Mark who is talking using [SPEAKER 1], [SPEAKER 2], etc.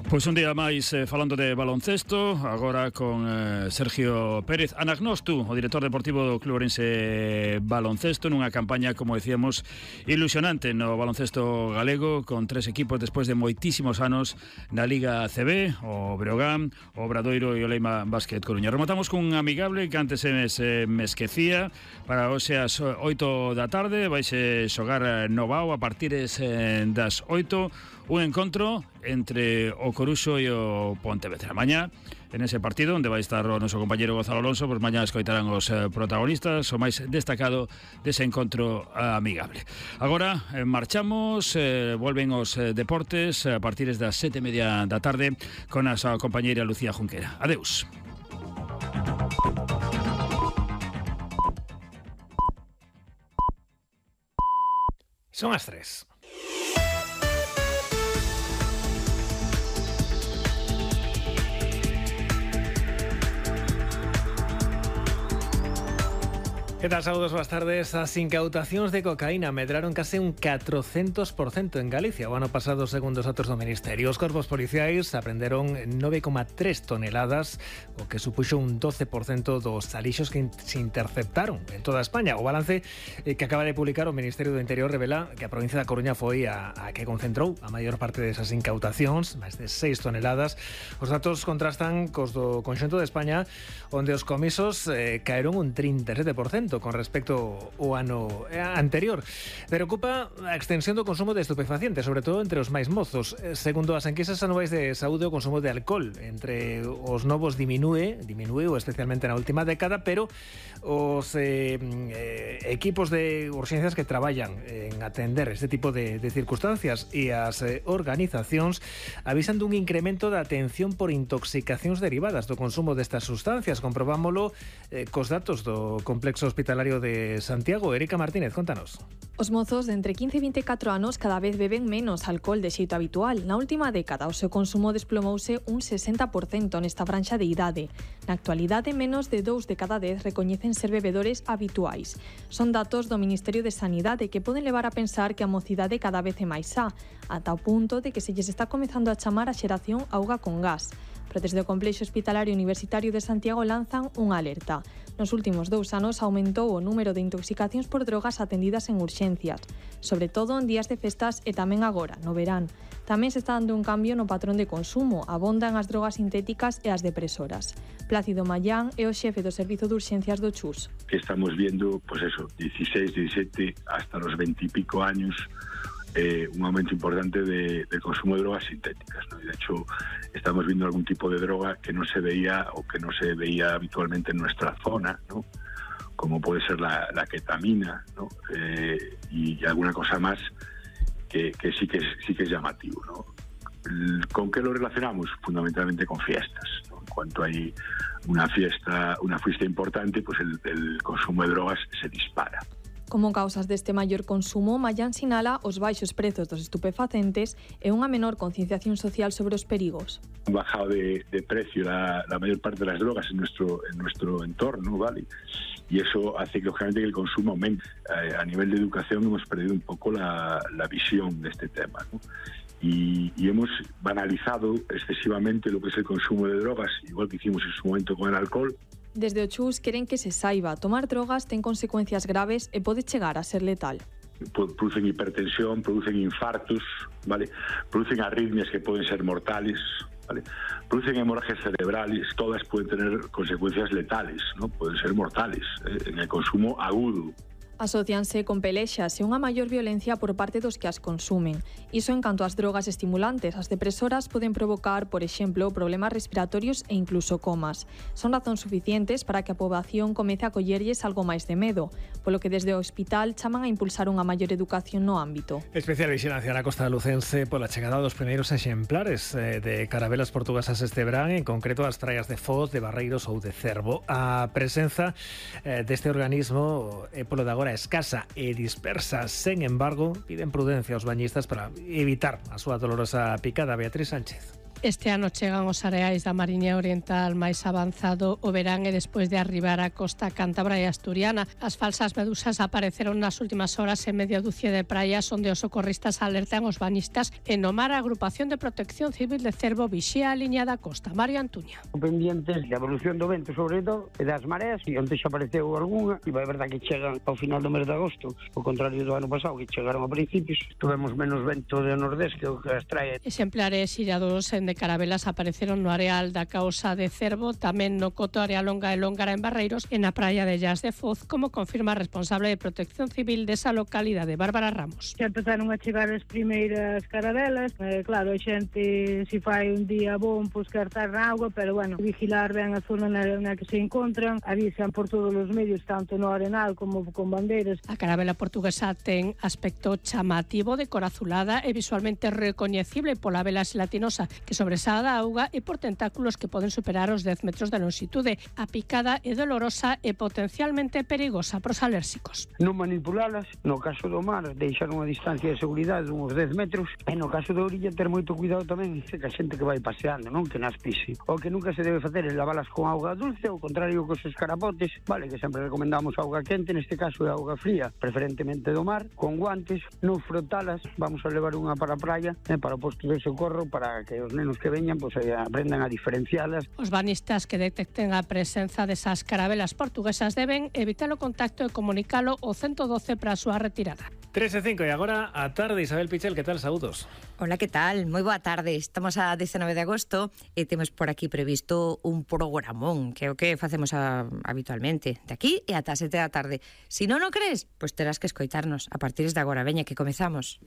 [SPEAKER 1] Pois un día máis falando de baloncesto, agora con Sergio Pérez Anagnostu, o director deportivo do Club Ourense Baloncesto, nunha campaña, como decíamos, ilusionante no baloncesto galego, con 3 equipos despois de moitísimos anos na Liga CB, o Breogán, o Obradoiro e o Leima Básquet Coruña. Rematamos cun amigable que antes me esquecía, para hoxe ás 8 da tarde, vaise xogar no Bao a partir das 8, un encontro entre o Coruxo e o Pontevedra. Mañá, en ese partido onde vai estar o noso compañeiro Gonzalo Alonso, pois mañá escoitarán os protagonistas, o máis destacado dese encontro amigable. Agora marchamos, volven os deportes a partir das 7:30 da tarde con a súa compañeira Lucía Junquera. Adeus.
[SPEAKER 2] Son as 3. Que tal, saúdos, boas tardes. As incautacións de cocaína medraron case un 400% en Galicia o ano pasado, segundo os datos do Ministerio. Os corpos policiais aprenderon 9,3 toneladas, o que supuxo un 12% dos alixos que se interceptaron en toda España. O balance que acaba de publicar o Ministerio do Interior revela que a provincia da Coruña foi a que concentrou a maior parte desas incautacións, máis de 6 toneladas. Os datos contrastan cos do conxunto de España, onde os comisos caeron un 37% con respecto ao ano anterior. Preocupa a extensión do consumo de estupefacientes, sobre todo entre os máis mozos. Segundo as enquisas anuais de saúde, o consumo de alcohol entre os novos diminuiu especialmente na última década, pero os equipos de urxencias que traballan en atender este tipo de circunstancias e as organizacións avisan dun incremento da atención por intoxicacións derivadas do consumo destas sustancias. Comprobámolo cos datos do complexo hospitalario de Santiago. Erika Martínez, contanos.
[SPEAKER 3] Os mozos de entre 15 e 24 anos cada vez beben menos alcohol de xeito habitual. Na última década o seu consumo desplomouse un 60% nesta franxa de idade. Na actualidade, menos de 2 de cada 10 recoñecen ser bebedores habituais. Son datos do Ministerio de Sanidade que poden levar a pensar que a mocidade cada vez é máis sá, ata o punto de que se lles está comezando a chamar a xeración auga con gas. Pero desde o Complexo Hospitalario Universitario de Santiago lanzan unha alerta. Nos últimos 2 anos aumentou o número de intoxicacións por drogas atendidas en urxencias, sobre todo en días de festas e tamén agora, no verán. Tamén se está dando un cambio no patrón de consumo, abondan as drogas sintéticas e as depresoras. Plácido Mayán é o xefe do Servizo de Urxencias do Chus.
[SPEAKER 4] Que estamos viendo, pues eso, 16, 17, hasta los 20 y pico años, un aumento importante de consumo de drogas sintéticas, ¿no? Y de hecho estamos viendo algún tipo de droga que no se veía o que no se veía habitualmente en nuestra zona, ¿no? Como puede ser la ketamina, ¿no? Y alguna cosa más que sí que es llamativo, ¿no? ¿Con qué lo relacionamos? Fundamentalmente con fiestas, ¿no? En cuanto hay una fiesta importante, pues el consumo de drogas se dispara.
[SPEAKER 3] Como causas deste maior consumo, Mayán sinala os baixos prezos dos estupefacentes e unha menor concienciación social sobre os perigos.
[SPEAKER 4] Han bajado de precio la mayor parte de las drogas en nuestro entorno, ¿vale? Y eso hace que, lógicamente, que el consumo aumente. A nivel de educación hemos perdido un poco la visión de este tema, ¿no? Y hemos banalizado excesivamente lo que es el consumo de drogas, igual que hicimos en su momento con el alcohol.
[SPEAKER 3] Desde o Chus queren que se saiba, tomar drogas ten consecuencias graves e pode chegar a ser letal.
[SPEAKER 4] Producen hipertensión, producen infartos, ¿vale? Producen arritmias que pueden ser mortales, ¿vale? Producen hemorragias cerebrales, todas pueden tener consecuencias letales, ¿no? Pueden ser mortales en el consumo agudo.
[SPEAKER 3] Asocianse con pelexas e unha maior violencia por parte dos que as consumen. Iso en canto ás drogas estimulantes. As depresoras poden provocar, por exemplo, problemas respiratorios e incluso comas. Son razóns suficientes para que a poboación comece a collerlles algo máis de medo, polo que desde o hospital chaman a impulsar unha maior educación no ámbito.
[SPEAKER 2] Especial vixilancia na costa lucense pola chegada dos primeiros exemplares de carabelas portuguesas este verán, en concreto as praias de Foz, de Barreiros ou de Cervo. A presenza deste organismo é polo de agora escasa e dispersa. Sen embargo, piden prudencia aos bañistas para evitar a súa dolorosa picada. Beatriz Sánchez.
[SPEAKER 5] Este ano chegan os areais da Mariña Oriental máis avanzado o verán e despois de arribar a costa cántabra e asturiana. As falsas medusas apareceron nas últimas horas en media dúcia de praias onde os socorristas alertan os bañistas e no mar a Agrupación de Protección Civil de Cervo vixía a liña da costa. Mario Antuña.
[SPEAKER 6] Pendientes da evolución do vento, sobre todo, e das mareas, e onde xa apareceu algunha, e vai verdad que chegan ao final do mes de agosto, ao contrario do ano pasado, que chegaron a principios. Tuvemos menos vento de nordés que o que as trae.
[SPEAKER 5] Exemplares illados de carabelas apareceron no areal da causa de Cervo, tamén no coto Arealonga e Lóngara en Barreiros e na praia de Llas de Foz, como confirma a responsable de Protección Civil desa localidade, Bárbara Ramos.
[SPEAKER 7] Xa empezaron a chegar as primeiras carabelas, claro, a xente se fai un día bon, pois quer estar na auga, pero bueno, vigilar ben a zona na que se encontran, avisan por todos os medios, tanto no arenal como con bandeiras.
[SPEAKER 5] A carabela portuguesa ten aspecto chamativo, de cor azulada e visualmente recoñecible pola vela gelatinosa que sobresada da auga e por tentáculos que poden superar os 10 metros de longitude. A picada é dolorosa e potencialmente perigosa para os alérxicos.
[SPEAKER 6] Non manipulalas, no caso do mar, deixar unha distancia de seguridade de uns 10 metros, e no caso da orilla ter moito cuidado tamén, que a xente que vai paseando, non que nas pise. O que nunca se debe facer é lavalas con auga dulce, ao contrario cos escarapotes, vale, que sempre recomendamos auga quente, neste caso é auga fría, preferentemente do mar, con guantes, non frotalas, vamos a levar unha para a praia, para o posto de socorro, para que os nenos que veñan pues, aprendan a diferencialas.
[SPEAKER 5] Os banistas que detecten a presenza desas carabelas portuguesas deben evitar o contacto e comunicalo ao 112 para a súa retirada.
[SPEAKER 2] 3:05 e agora a tarde. Isabel Pichel, que tal? Saúdos.
[SPEAKER 8] Hola, que tal? Moi boa tarde. Estamos a 19 de agosto e temos por aquí previsto un programón, que é o que facemos habitualmente, de aquí e ata 7 da tarde. Si non o crees, pois terás que escoitarnos a partir de agora. Veña, que comezamos.